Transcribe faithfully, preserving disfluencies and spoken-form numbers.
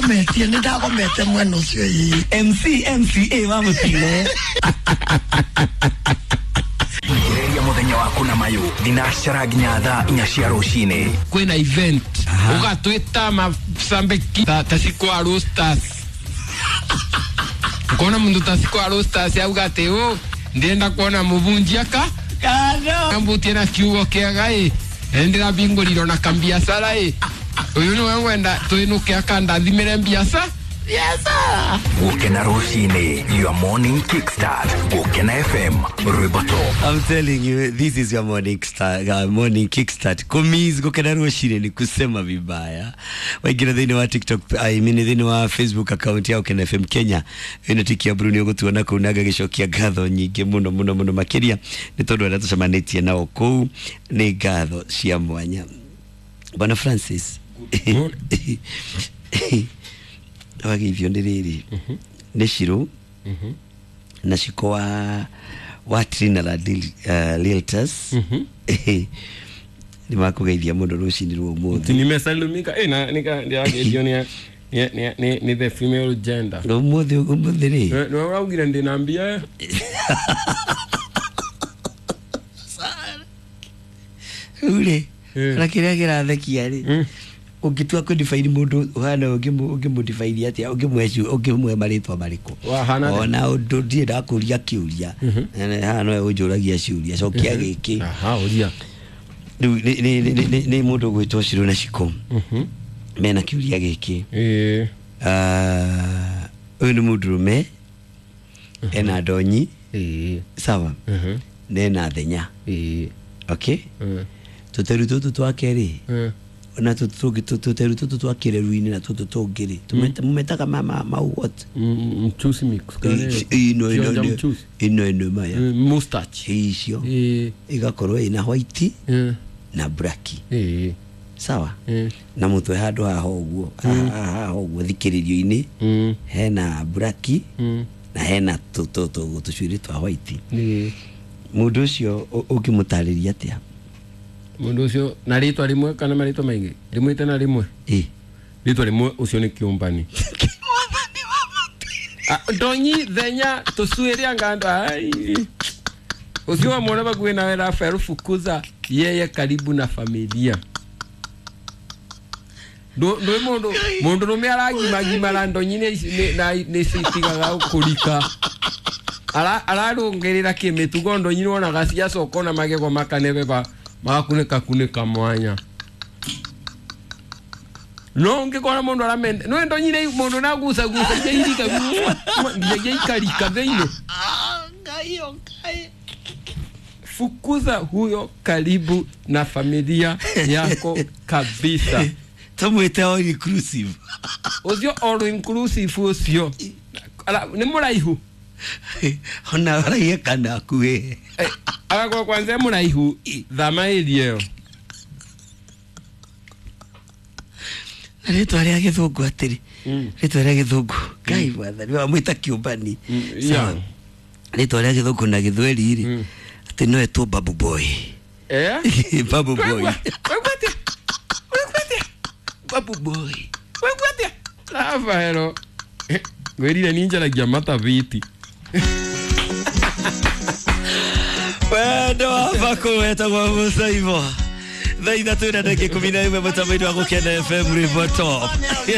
Ndagometie nĩ ndagomete mwena ũcio ĩĩ. M C M C A wa mũtino. Gereria muthenya waku na mayu thinacara nginya thaa inya cia rucini. Kwina event ugatwita masambeki ta, ta cikwa roasters. Ukona mundu ta cikwa roasters auga ati u ndienda kuona mubunjia ka kano mbutie na kiugo kiaga i ndira binguriro na kambiacara i uyu niwe ngwenda twinuke akandathimire mbiaca. Yes sir. Gukena rucini, your morning kickstart. Gukena F M, rwimbo top. I'm telling you, this is your morning start, uh, morning kickstart. Kumiz gukena rucini ni kusema vibaya. Waingira thĩinĩ wa TikTok, I mean thĩinĩ wa Facebook account ya Gukena F M Kenya. Ĩno tikia Bruno ũgũtuona kũu na ngagĩcokia ngatho nyingĩ mũno mũno mũno makĩria nĩ tondũ arĩa tũcemanĩtie nao kũu nĩ ngatho cia mwanya. Bwana Francis. Wageithio nĩ rĩrĩ nĩ Shiro na Shiko wa wa Trinidad Realtors nĩ makũgeithia mũno rũcinĩ rwa ũmũthĩ. Nimesalimika eh na nika ndiageithio ni ni ni ni the female gender. Ũmũthĩ ũmũthĩ rĩ nĩ ũraugire ndĩna mbia. Rĩu rĩ na kĩrĩa kĩrathekia rĩ ũngĩtua kũ-define mũndũ ũhana ũngĩmũ-define atĩa ũngĩmũhe ũngĩmũhe marĩtwa marĩkũ ona ũndũ ndirĩ ndakũria kĩũria haha nowe ũnjũragia ciũria cokia gĩkĩ. Aha, ũria. Rĩu nĩ mũndũ ũgwĩtwo Shiro na Shiko mena kĩũria gĩkĩ. Ũyũ nĩ mũndũrũme ena ndonyi sawa na ena thenya. Okay, tũteru tũtũ twake rĩ na tutu tutu tutu twakireruini na tutu tungiri tumetaga mama mau what mchuzi mix ino ino ino ino maya mustache icio igakorwo ina white na black eh sawa na mutwe handu haha uguo haha uguo thikiririo-ini hena black na hena tutu tucuiri twa white. Mundu ucio ũngĩmũtarĩria atĩa? Mundu ucio na ritwa rimwe kana maritwa maingi rimwe tena rimwe eh ritwa rimwe ucio ni kiumbani. Ndonyi thenya tucuiria ngando ai ucio wa mwana bakuwe nawe Rafael fukuza yeye karibu na familia. Ndo ndo mundu mundu rume aragimagimara ndonyi ni na ni citigaga kurika ara ararungirira kimitugo ndonyi wonaga ciacoka na magego makanebeba magakunĩka kunĩka mwanya no ngĩkora mũndũ aramende no ndonyire mũndũ na guca guca irika nginya ikarika thĩinĩ. Fukuza huyo karibu na familia yako kabisa. Tumwite all inclusive. Ucio all inclusive ucio nĩ mũraihu ona araihe kana akuĩ agakorwo kwanza mũraihu thama area ĩyo. Na rĩtwa rĩa gĩthũngũ atĩrĩ rĩtwa rĩa gĩthũngũ Ngai mwathani wamwĩta kĩũmbani sawa rĩtwa rĩa gĩthũngũ na gĩthweri rĩ atĩ no etwo Babu Boy. Eh Babu Boy. Wegwatia wegwatia Babu Boy wegwatia Rafaelo ngwĩrire ni njaragia mataviti. Wendo wa bako wetagwo Musa Ivo thaa ithatũ na ndagĩka ikũmi na ĩmwe mũtambo-inĩ wa Gũkena F M rwĩmbo top.